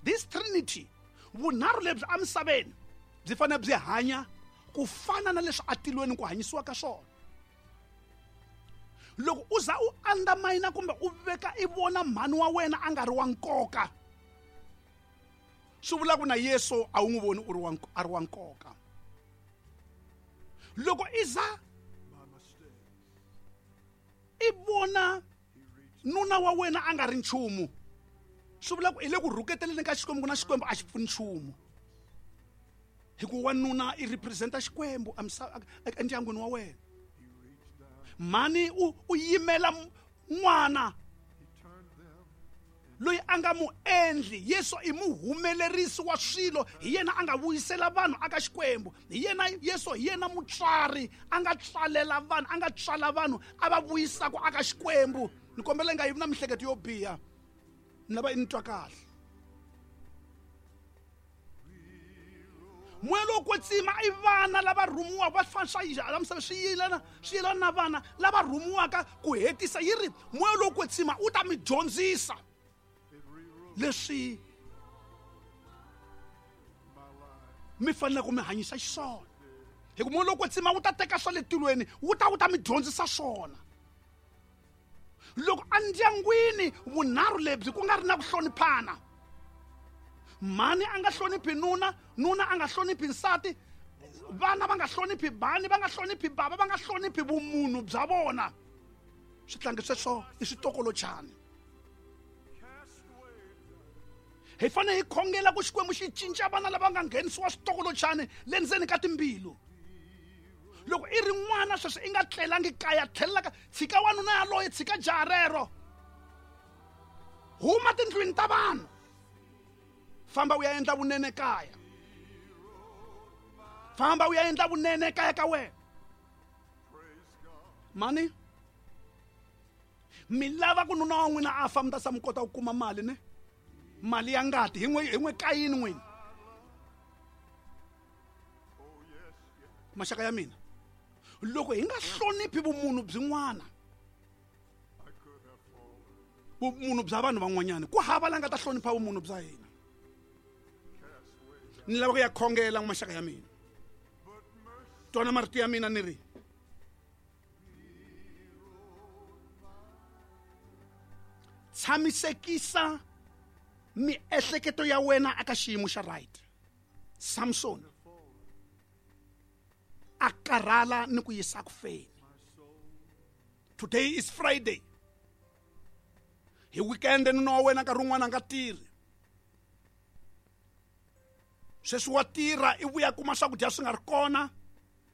This trinity, vunharhu lebyi emisaveni byi fanele byi hanya ku fana na leswi atilweni ku hanyisiwa ka swona. Loko u za u undermine kumbe u veka i vona mhani wa wena a nga ri wa nkoka, swi vula ku na Yesu a wu n'wi voni u ri wa a ri wa nkoka. Loko i za i vona nuna wa wena a nga ri nchumu, swi vula ku i le ku rhuketeleni ka Xikwembu, ku na Xikwembu a xi pfuni nchumu. Hikuva wanuna i representa Xikwembu endyangwini wa wena. Mhani u u yimela n'wana loyi a nga mu endli. Yesu i muhumelerisi wa swilo, hi yena a nga vuyisela vanhu aka Xikwembu. Hi yena Yesu, hi yena mutswari a nga tswalela vanhu, a nga tswala vanhu a va vuyisaka aka Xikwembu. Ni kombela nga yivi na mihleketo yo biha, ni lava i ni twa kahle. Moya lowo kwetsima i vana lava rhumiwaka va fana swa la misava swi yelana swi yelana na vana lava rhumiwaka ku hetisa. Yi ri moya lowo kwetsima u ta mi dyondzisa leswi mi fanele ku mi hanyisa xiswona. Hi ku moya lowo kwetsima wu ta teka swa le tilweni wu ta wu ta mi dyondzisa swona. Loko endyangwini vunharhu lebyi ku nga ri na ku hloniphana, mhani a nga hloniphi nuna, nuna a nga hloniphi nsati, vana va nga hloniphi bani, va nga hloniphi bava, va nga hloniphi vumunhu bya vona, switlangi sweswo i switokolochani. Hi fanele hi khongela ku Xikwembu xi cinca vana lava nga nghenisiwa switokolochani le ndzeni ka timbilu. Loko i ri n'wana sweswi i nga tlelangi kaya, tlhelela ka tshika wanuna yaloye, tshika jaha rero, huma tindlwini ta vanhu, famba u ya endla vunene kaya, famba u ya endla vunene kaya ka wena. Mani mi lava ku nuna wa n'wina a fa mi ta sa mi kota ku kuma mali ne mali ya ngati hi n'we hi n'we kayini n'wina. Maxaka ya mina, loko hi nga hloniphi vumunhu byin'wana, vumunhu bya vanhu van'wanyana, ku hava la nga ta hlonipha vumunhu bya hina. Ni lava ku ya khongela maxaka ya mina, twana marito ya mina ni ri tshamisekisa miehleketo ya wena aka xiyimo xa right. Samson a karhala ni ku yisa ku feni. Today is Friday. Hi weekend nuna wa wena nkarhi wun'wana a nga tirhi. Sweswi wa tirha i vuya kuma swakudya swi nga ri kona,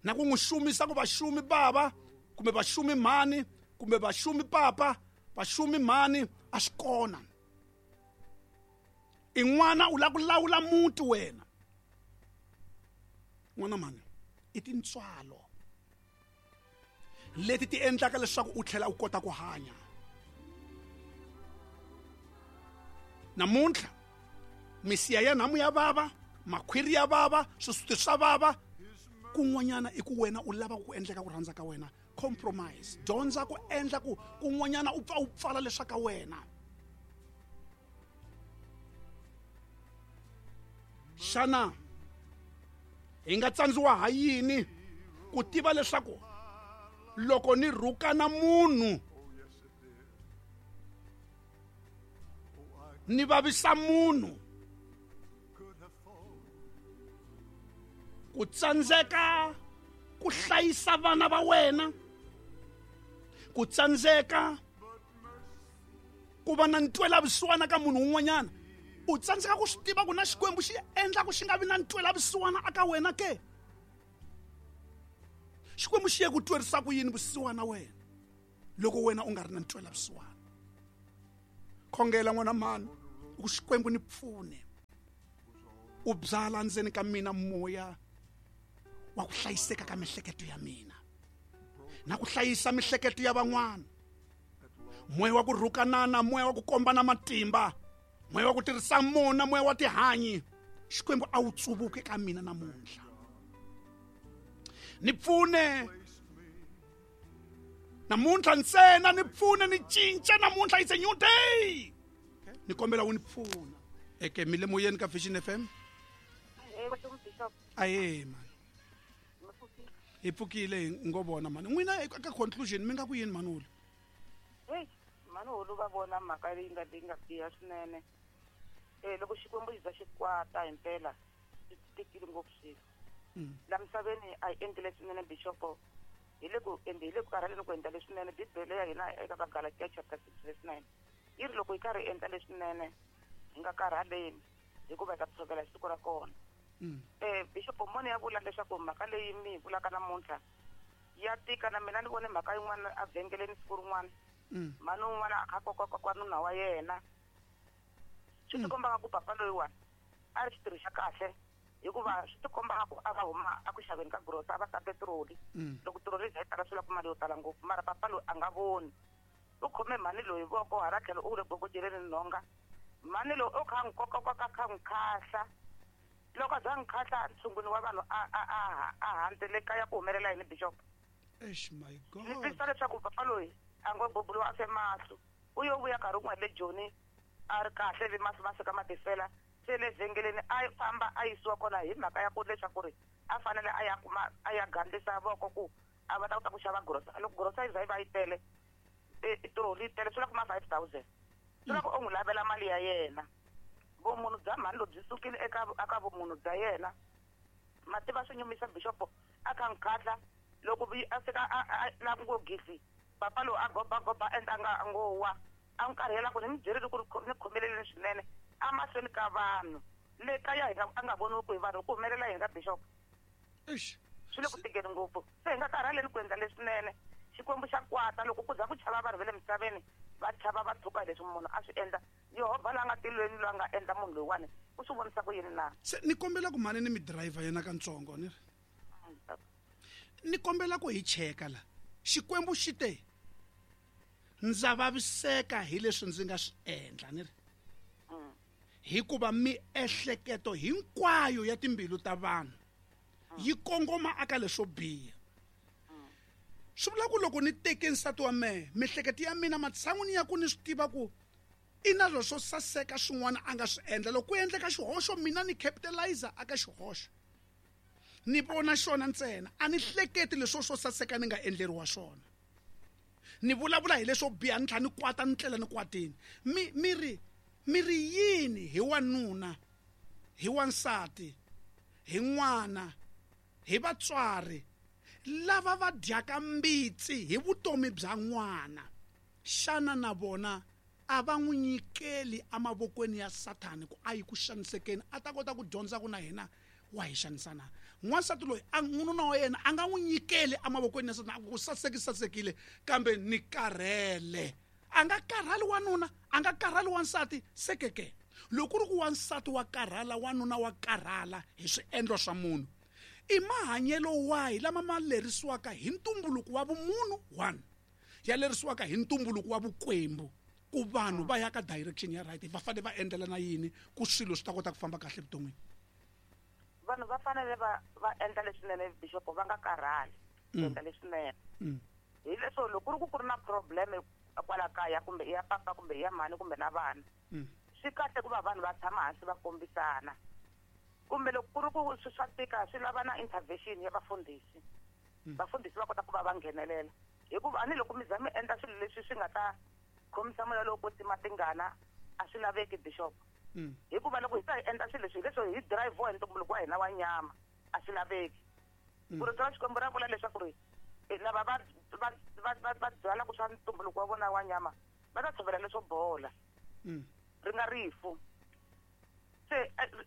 na ku n'wi xumisa ku vaxumi bava kumbe vaxumi mhani kumbe vaxumi papa vaxumi mhani a swi kona. I n'wana u lava ku lawula muti wena. N'wana mhani, i tintswalo leti ti endlaka leswaku u tlhela u kota ku hanya. Namuntlha misiya ya nhamu ya vava, makhwiri ya vava, swisuti swa vava, kun'wanyana i ku wena u lava ku endleka ku rhandza ka wena. Compromise, dyondza ku endla ku kun'wanyana u pfa u pfala leswa ka wena. Xana hi nga tsandziwa ha yini ku tiva leswaku loko ni rhukana munhu ni vavisa munhu, ku tsandzeka ku hlayisa vana va wena, ku tsandzeka ku va na ntwelavusiwana ka munhu un'wanyana, u tsandzeka ku swi tiva ku na Xikwembu xi endla ku xi nga vi na ntwelavusiwana aka wena ke? Xikwembu xi ye ku twerisa ku yini vusiwana wena loko wena u nga ri na ntwelavusiwana? Khongela n'wana mhani ku Xikwembu ni pfune. U byala ndzeni ka mina moya wa ku hlayiseka ka mihleketo ya mina na ku hlayisa mihleketo ya van'wana. Moya wa ku rhukanana, moya wa ku kombana matimba, moya wa ku tirhisa mona, moya wa tihanyi, Xikwembu a wu tsuvuke ka mina namuntlha. Ni pfune namuntlha ntsena, ni pfune ni cinca namuntlha, it's a new day. Ni kombela u ni pfuna. Eke mi le moyeni ka Vision F M? Aye man. Hi pfukile hi ngo vona mani. N'wina eka conclusion mi nga ku yini manulu? Hey, manulu va vona mhaka leyi nga leyi nga biha swinene. Eh loko Xikwembu xi za xi kwata himpela swi tikile ngopfu swilo. La misaveni a hi endli leswinene bishop. Hi le ku endli hi le ku karhaleni ku endla leswinene. Bibele ya hina eka Vagalatia chapter six verse nine yi ri loko hi karhi hi endla leswinene hi nga karhaleni hikuva hi ta tshovela siku ra kona. Eh bishop moni ya vula leswaku mhaka leyi mi vulaka namuntlha ya tika na mina ni vone mhaka yin'wana a vhengeleni siku rin'wana. Mhani un'wana a kha koka nuna wa yena. Swi tikomba ku papa loyiwani a ri xitirho xa kahle hikuva swi tikomba ku a va huma a ku xaveni ka grosa a va ta petroli. Loko tiroli yi tala swi lava ku mali yo tala ngopfu mara papa loyi a nga voni. U khome mhani loyi voko hala tlhelo u le gogojeleni nhonga. Mhani loyi u kha n'wi koka koka kha n'wi khahla. Loko a za n'wi khahla ntshungwini wa vanhu a a a a handzele kaya ku humelela yini bishop. Eish my God. Ni twisisa leswaku papa loyi a ngo bubuliwa a fe mahlo. U yo vuya nkarhi wun'wana le Joni a ri kahle vi mahlo ma fika ma tifela. Se le vhengeleni a famba a yisiwa kona hi mhaka ya ku leswaku ri a fanele a ya kuma a ya gandlisa voko ku a va ta kota ku xava grosa. Loko grosa yi za yi va yi tele tiroli yi tele swi lava kuma five thousand. Swi lava ku u n'wi lavela mali ya yena. Vumunhu bya mhani loyi byi sukile eka eka vumunhu bya yena. Mativa swi nyumisa bishop a kha n'wi khahla loko a fika a la ngo gisi papa loyi a goba goba endla nga ngo wa a n'wi karhela ku ni mi byerile ku ri ni khomeleleni swinene a mahlweni ka vanhu le kaya hi nga a nga voniwi ku hi vanhu ku humelela yini ka bishop. Eish. Swi le ku tikeni ngopfu. Se hi nga karhaleni ku endla leswinene. Xikwembu xa kwata loko ku za ku chava vanhu va le misaveni va chava va tshuka leswi munhu a swi endla. Yehovha la nga tilweni loyi a nga endla munhu loyiwani u swi vonisa ku yini na? Se ni kombela ku mhani ni mi driver yena kantsongo ni ri. Ni kombela ku hi cheka la. Xikwembu xi te ndza vaviseka hi leswi ndzi nga swi endla ni ri. Hikuva miehleketo hinkwayo ya timbilu ta vanhu yi kongoma aka leswo biha. Swi vula ku loko ni teke nsati wa mehe miehleketo ya mina matshan'wini ya ku ni swi tiva ku i na swo saseka swin'wana a nga swi endla loko ku endleka xihoxo mina ni capitalizer aka xihoxo ni vona xona ntsena a ni hleketi leswo swo saseka ni nga endleriwa swona. Ni vulavula hi leswo biha ni tlhela ni kwata ni tlela ni kwatini. Mi mi ri mi ri yini hi wanuna hi wansati hi n'wana hi vatswari lava va dyaka mbitsi hi vutomi bya n'wana? Xana na vona a va n'wi nyikeli emavokweni ya Sathani ku a yi ku xanisekeni a ta kota ku dyondza ku na hina wa hi xanisana? N'wansati loyi a nuna wa yena a nga n'wi nyikeli emavokweni ya Sathana ku saseki sasekile kambe ni karhele. A nga karhali wanuna, a nga karhali wansati sekeke. Loko ku ri ku wansati wa karhala wanuna wa karhala hi swiendlo swa munhu, i mahanyelo wahi lama ma lerisiwaka hi ntumbuluko wa vumunhu one ya lerisiwaka hi ntumbuluko wa vukwembu ku vanhu va ya ka direction ya right va fanele va endlela na yini ku swilo swi ta kota ku famba kahle evuton'wini? Vanhu va fanele va va endla leswinene bishop va nga karhali ku endla leswinene. Hi leswo loko ku ri ku ku ri na problem kwala kaya kumbe ya papa kumbe ya mhani kumbe na vana swi kahle ku va vanhu va tshama hansi va kombisana. Kumbe loko ku ri ku swi swa tika swi lava na intervention ya vafundhisi. Vafundhisi va kota ku va va nghenelela hikuva a ni loko mi za mi endla swilo leswi swi nga ta khomisa moya lowo kwetsima tingana a swi laveki bishop. Hikuva loko hi ta hi endla swilo leswi hi leswo hi drive hi ntumbuluko wa hina wa nyama a swi laveki. Ku rito ra Xikwembu ra vula leswaku ri lava va va va va va byalaka swa ntumbuluko wa vona wa nyama va ta tshovela leswo bola ri nga rifu. Se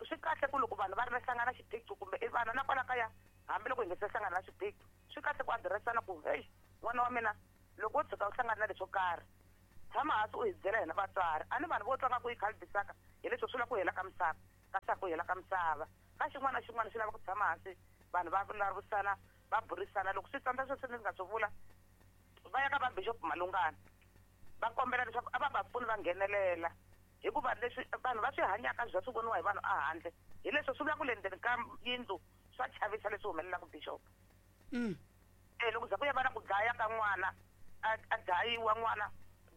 swi kahle ku loko vanhu va ri na hlangana xiphiqo kumbe i vana na kwala kaya hambiloko hi nga se hlangana na xiphiqo swi kahle ku adiressana ku hey n'wana wa mina loko wo tshuka u hlangana na leswo karhi tshama hansi u hi byela hina vatswari. A ni vanhu vo twa nga ku yi khalibisaka hi leswo swi lava ku hela ka misava Ka swa ku hela ka misava. Ka xin'wana na xin'wana xi lava ku tshama hansi vanhu va vulavurisana va burisana loko swi tsandza sweswi ni nga swi vula va ya ka va Bishop Malungana va kombela leswaku a va va pfuni va nghenelela hikuva leswi vanhu va swi hanyaka bya swi voniwa hi vanhu ehandle hi leswi swi vula ku le ndzeni ka yindlu swa chavisa leswi humelelaka Bishop. Mm. Eh loko za ku ya va na ku dlaya ka n'wana a dlayiwa n'wana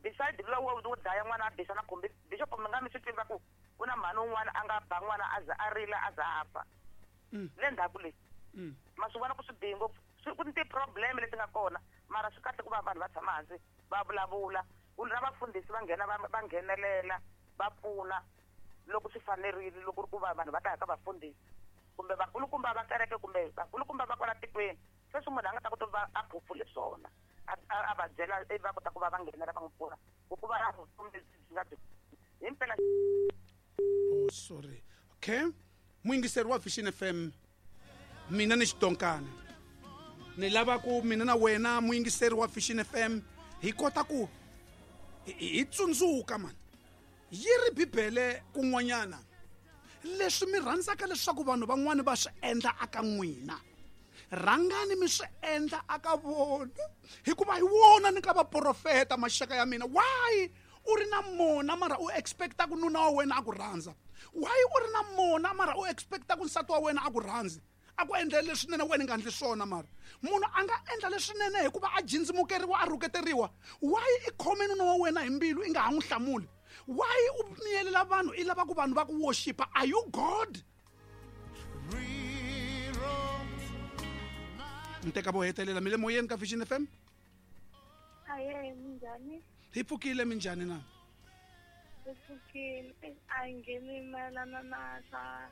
beside lowo wo dlaya n'wana a bisa na khumbi Bishop mi nga mi swi tiva ku ku na mhani un'wana a nga ba n'wana a za a rila a za a fa. Le ndzhaku leyi ma swi vona ku swi bihi ngopfu swi ku ni ti-problem leti nga kona mara swi kahle ku va vanhu va tshama hansi va vulavula na vafundhisi va nghena va nghenelela va pfuna loko swi fanerile loko ri ku va vanhu va ta ya ka vafundhisi kumbe vakulukumba va kereke kumbe vakulukumba va kwala tikweni sweswi munhu a nga ta kota ku va a phofule swona a va byela ivi va kota ku va va nghenela va n'wi pfuna ku va na vutomi lebyi byi nga byi himpela. Oh sorry. Okay. Muyingiseri wa Vision F M mina ni xidonkana ni lava ku mina na wena muyingiseri wa Vision F M hi kota ku hi tsundzuka man yi ri Bibele kun'wanyana leswi mi rhandzaka leswaku vanhu van'wani va swi endla aka n'wina rhangani mi swi endla aka vona hikuva hi wona ni ka vaprofeta maxaka ya mina. Why u ri na mona mara u expecta ku nuna wa wena a ku rhandza? Why u ri na mona mara u expecta ku nsati wa wena a ku rhandzi a ku endlela leswinene wena nga endli swona? Mara munhu a nga endla leswinene hikuva a jindzimukeriwa a rhuketeriwa. Why i khome nuna wa wena hi mbilu i nga ha n'wi hlamuli? Why u miyelela vanhu i lava ku vanhu va ku worshipa? Are you God? Nteka vo hetelela mi le moyeni ka Vision F M. Aye, minjhani? Hi pfukile, minjhani na? Hi pfukile. A hi ngheni mayelana na swa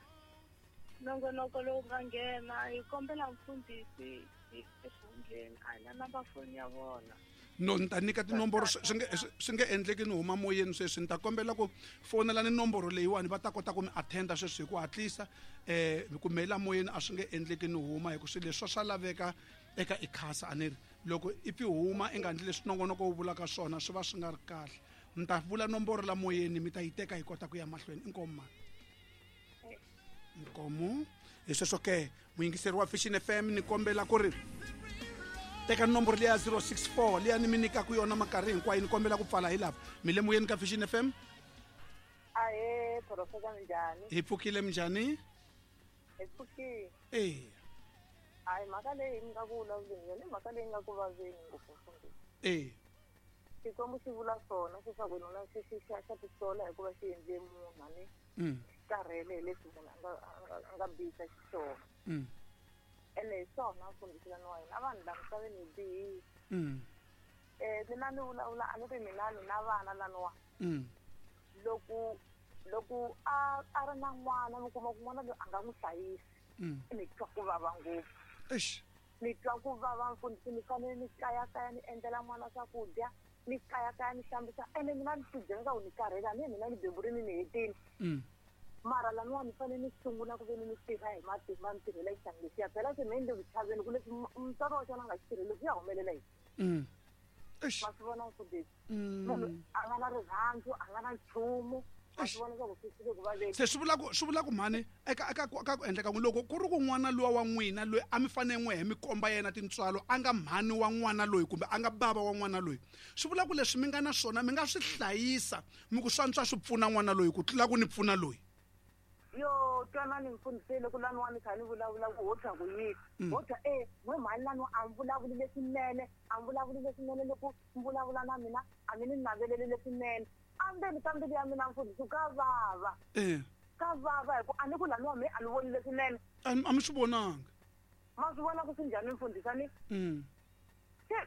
nongonoko lowu nga nghena hi kombela mfundhisi hi exihundleni a hi na namba foni ya vona. No ni ta nyika tinomboro swi nge swi nge endleki ni huma moyeni sweswi ni ta kombela ku fonela ni nomboro leyiwani va ta kota ku mi attenda sweswi hi ku hatlisa eh ku mela moyeni a swi nge endleki ni huma hi ku swilo leswi swa laveka eka ikhasa a ni ri loko i pfi huma i nga endli leswi nongonoko wu vulaka swona swi va swi nga ri kahle. Ni ta vula nomboro la moyeni mi ta yi teka hi kota ku ya mahlweni. Inkomu mani? Inkomu. Hi sweswo ke muyingiseri wa Vision F M ni kombela ku ri teka nomboro liya zero six four liya ni mi nyikaka yona minkarhi hinkwayo ni kombela ku pfala hi lava mi le moyeni ka Vision F M. Ahe profesa, minjhani? Hi pfukile, minjhani? Hi pfukile. Eh hayi mhaka leyi mi nga ku vulavuleni yona i mhaka leyi nga ku vaveni ngopfu mfundhisi. Eh Xikwembu xi vula swona leswaku nuna xi xi xa xa tisola hikuva xi endle munhu a ni karhele hi leswi munhu a nga a nga bihisa xiswona. Ene hi swona mfundhisi lani wa hina vanhu la misaveni hi bihile. Eh mina ni vulavula a ni ri mina ni na vana laniwa. Loko loko a a ri na n'wana mi kuma ku n'wana loyi a nga n'wi hlayisi ni twa ku vava ngopfu. Eish. Ni twa ku vava mfundhisi ni fanele ni kayakaya ni endlela n'wana swakudya ni kayakaya ni hlambisa ene mina ni tibyela leswaku ni karhele a ni mina ni beburini ni hetile. Mara laniwa ni fanele ni sungula ku ve ni ni tirha hi matimba ni tirhela xihlangi lexiya phela se me ni le ku chaveni ku leswi mutswari wa xona a nga xi tirheli swi ya humelela yini. Ma swi vona mfundhisi munhu a nga na rirhandzu a nga na nchumu. Se swi vula ku swi vula ku mhani eka eka ka ku endleka loko ku ri ku n'wana luwa wa n'wina loyi a mi fanele n'we hi mi komba yena tintswalo a nga mhani wa n'wana loyi kumbe a nga bava wa n'wana loyi swi vula ku leswi mi nga na swona mi nga swi hlayisa mi ku swantswa swi pfuna n'wana loyi ku tlula ku ni pfuna loyi. Yo twanani mfundhisi loko laniwa ni kha ni vulavula ku ho twa ku yini ho twa e n'we mhani laniwa a mi vulavuli leswinene a mi vulavuli leswinene loko mi vulavula na mina a mi ni naveleli leswinene. Endzeni ka mbilu ya mina mfundhisi ka vava. Ka vava hi ku a ni ku laniwa me a ni voni leswinene. A mi swi vonanga. Ma swi vona ku swi njhani mfundhisi a ni? Se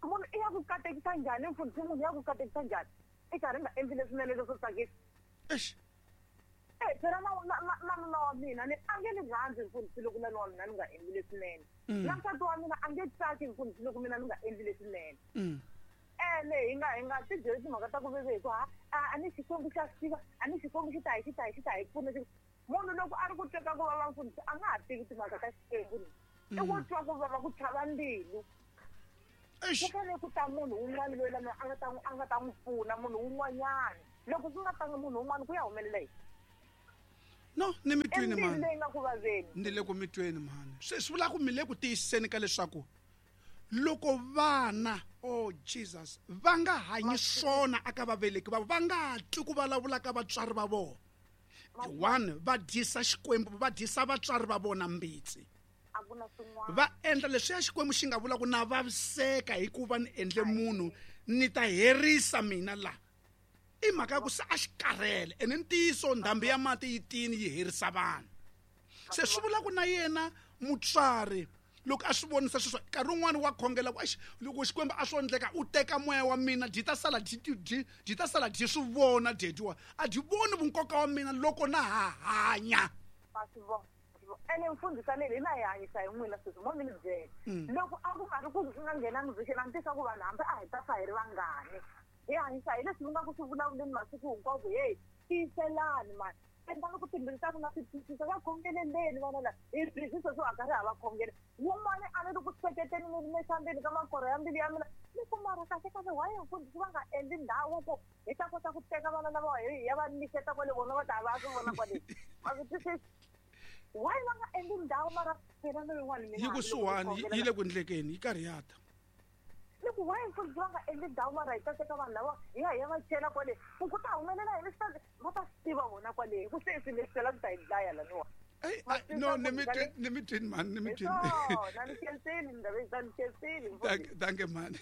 munhu i ya ku katekisa njhani mfundhisi munhu ya ku katekisa njhani i karhi nga endli leswinene leswo tsakisa. Eish. Eh phela na na na nuna wa mina ni a nge ni rhandzi mfundhisi loko nuna wa mina ni nga endli leswinene. Na nsati wa mina a nge tsaki mfundhisi loko mina ni nga endli leswinene. Ene hi nga hi nga ti byeli timhaka ta ku veve hi ku ha a ni Xikwembu xa swi tiva a ni Xikwembu xi ta hi xi ta hi xi ta hi pfuna. Munhu loko a ri ku teka ku vava mfundhisi a nga ha tivi timhaka ta Xikwembu i ku twa ku vava ku chava mbilu. Ku fanele ku ta munhu un'wana loyi lama a nga ta a nga ta n'wi pfuna munhu un'wanyana loko ku nga tanga munhu un'wana ku ya humelela yini. No ni mi twini mhani. Leyi nga ku vaveni. Ni le ku mi tweni mhani. Swi swi vula ku mi le ku tiyisiseni ka leswaku loko vana, oh Jesus, va nga hanyi swona aka vaveleki va va nga twi ku vulavula ka vatswari va vona. One, va dyisa Xikwembu, va dyisa vatswari va vona mbitsi. Va endla leswi ya Xikwembu xi nga vula ku na vaviseka hikuva ni endle munhu ni ta herisa mina la. I mhaka ya ku se a xi karhele ene ntiyiso ndhambi ya mati yi tini yi herisa vanhu. Se swi vula ku na yena mutswari loko a swi vonisa sweswo nkarhi wun'wani wa khongela ku loko Xikwembu a swo endleka u teka moya wa mina dyi ta sala dyi dyi dyi ta sala dyi swi vona dyedziwa a dyi voni vunkoka wa mina loko na ha hanya. Ene mfundhisi leyi hina hi hanyisa hi n'wina sweswi mo mi ni byela loko a ku nga ri ku nga nghenangi vhexeni a ni tisa ku vanhu hambi a hi ta fa hi ri vangani hi hanyisa hi leswi mi nga ku swi vulavuleni masiku hinkwawo ku heyi tiyiselani mani endlani ku timbilu ta n'wina swi twisisa va khongeleleni vana lava hi busy sweswi a karhi ha va khongela wun'wani a ni ri ku hleketeni ni ri mesambeni ka makoro ya mbilu ya mina ni ku mara kahle kahle why mfundhisi va nga endli ndhawu ku hi ta kota ku teka vana lava hi ya va nyiketa kwale vona va ta va swi vona kwale ma swi twisisa why va nga endli ndhawu mara phela lowun'wani mina yi kusuhani yi le ku endlekeni yi karhi ya ta ni ku why mfundhisi va nga endli ndhawu mara hi ta teka vanhu lava hi ya hi ya va chela kwale ku ku ta humelela hi leswi va ta swi tiva vona kwale hi ku se swi leswi la ku ta hi dlaya laniwa. No, ni mi twini ni mi twini mhani ni mi twini. Na ni khensile ndhawu ni khensile. Danke mhani.